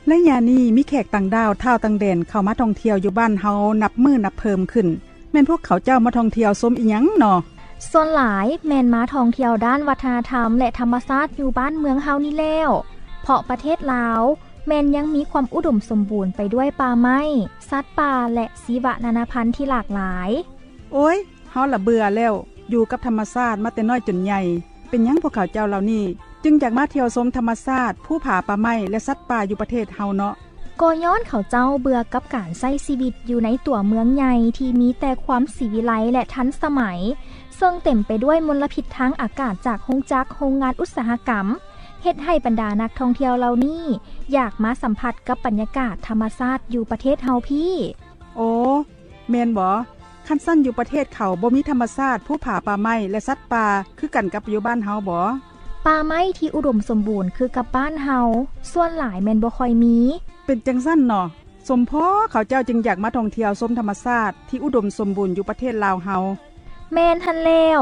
ໄລຍະນີ້ມີແຂກຕ່າງດ້າວ ທ້າວຕ່າງແດນ ເຂົ້າມາທ່ອງທ່ຽວຢູ່ບ້ານເຮົານັບມື້ນັບເພີ່ມຂຶ້ນ. ແມ່ນພວກເຂົາເຈົ້າມາທ່ອງທ່ຽວຊົມອີ່ຫຍັງນໍ? ສ່ວນຫຼາຍແມ່ນມາທ່ອງທ່ຽວດ້ານວັດທະນະທຳ ແລະ ທຳມະຊາດຢູ່ບ້ານເມືອງເຮົານີ້ແລ້ວ, ເພາະປະເທດລາວແມ່ນຍັງມີຄວາມອຸດົມສົມບູນໄປດ້ວຍປ່າໄມ້, ສັດປ່າ ແລະ ຊີວະນານາພັນທີ່ຫຼາກຫຼາຍ. ໂອ້ຍ, ເຮົາລະເບື່ອແລ້ວ, ຢູ່ກັບທຳມະຊາດມາແຕ່ນ້ອຍຈົນໃຫຍ່. ເປັນຫຍັງພວກເຂົາເຈົ້າເຫຼົ່ານີ້ຈຶ່ງຢາກມາທ່ຽວຊົມທຳມະຊາດ, ພູຜາ, ປ່າໄມ້ ແລະ ສັດປ່າຢູ່ປະເທດເຮົາເນາະ? ກໍຍ້ອນເຂົາເຈົ້າເບື່ອກັບການໃຊ້ຊີວິດຢູ່ໃນຕົວເມືອງໃຫຍ່ທີ່ມີແຕ່ຄວາມສີວິໄລ ແລະ ທັນສະໄໝ, ເຊິ່ງເຕັມໄປດ້ວຍມົນລະພິດທາງອາກາດຈາກໂຮງຈັກ, ໂຮງງານອຸດສາຫະກຳ, ເຮັດໃຫ້ບັນດານັກທ່ອງທ່ຽວເຫຼົ່ານີ້ຢາກມາສຳຜັດກັບບັນຍາກາດທຳມະຊາດຢູ່ປະເທດເຮົາພີ້. ໂອ້ ແມ່ນບໍ? ຄັນຊັ້ນຢູ່ປະເທດເຂົາບໍ່ມີທຳມະຊາດ, ພູຜາ, ປ່າໄມ້ ແລະ ສັດປ່າຄືກັນກັບຢູ່ບ້ານເຮົາບໍ? ປ່າໄມ້ທີ່ອຸດົມສົມບູນຄືກັບບ້ານເຮົາ ສ່ວນຫຼາຍແມ່ນບໍ່ຄ່ອຍມີ. ເປັນຈັ່ງຊັ້ນເນາະ, ສົມພໍເຂົາເຈົ້າຈຶ່ງຢາກມາທ່ອງທ່ຽວຊົມທຳມະຊາດທີ່ອຸດົມສົມບູນຢູ່ປະເທດລາວເຮົາ. ແມ່ນຫັ້ນແລ້ວ,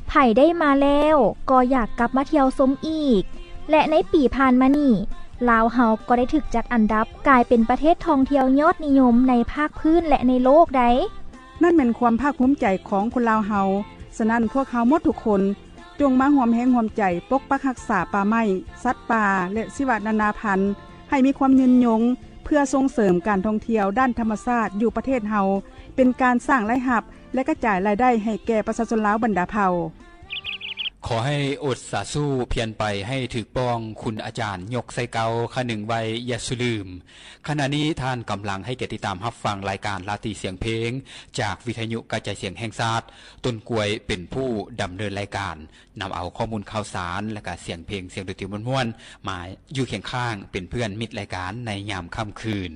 ໃຜໄດ້ມາແລ້ວກໍຢາກກັບມາທ່ຽວຊົມອີກ ແລະ ໃນປີຜ່ານມານີ້ ລາວເຮົາກໍໄດ້ຖືກຈັດອັນດັບກາຍເປັນປະເທດທ່ອງທ່ຽວຍອດນິຍົມໃນພາກພື້ນ ແລະ ໃນໂລກໃດ໋. ນັ້ນແມ່ນຄວາມພາກພູມໃຈຂອງຄົນລາວເຮົາ. ສະນັ້ນ, ພວກເຮົາໝົດທຸກຄົນ ຈົ່ງມາຮ່ວມແຮງຮ່ວມໃຈປົກປັກຮັກສາປ່າໄມ້, ສັດປ່າ ແລະ ຊີວະນານາພັນ ໃຫ້ມີຄວາມຍືນຍົງ, ເພື່ອສົ່ງເສີມການທ່ອງທ່ຽວດ້ານທຳມະຊາດຢູ່ປະເທດເຮົາ, ເປັນການສ້າງລາຍຮັບ ແລະ ກະຈາຍລາຍໄດ້ໃຫ້ແກ່ປະຊາຊົນລາວບັນດາເຜົ່າ. ຂໍໃຫ້ອົດສາຊູພຽນໄປໃຫ້ຖືກປ່ອງ, ຄຸນອາຈານຍົກໃສ່ເກົ່າ, ຂະໜຶງໄວ້ຢ່າສູ່ລືມ. ຂະນະນີ້ທ່ານກຳລັງໃຫ້ກຽດຕິດຕາມຮັບຟັງລາຍການລາຕີສຽງເພງ ຈາກວິທະຍຸກະຈາຍສຽງແຫ່ງຊາດ, ຕົ້ນກວຍເປັນຜູ້ດຳເນີນລາຍການ, ນຳເອົາຂໍ້ມູນຂ່າວສານ ແລະ ກະສຽງເພງ, ສຽງດົນຕີມ່ວນໆ ມາຢູ່ຄຽງຂ້າງເປັນເພື່ອນມິດລາຍການໃນຍາມຄ່ຳຄືນ.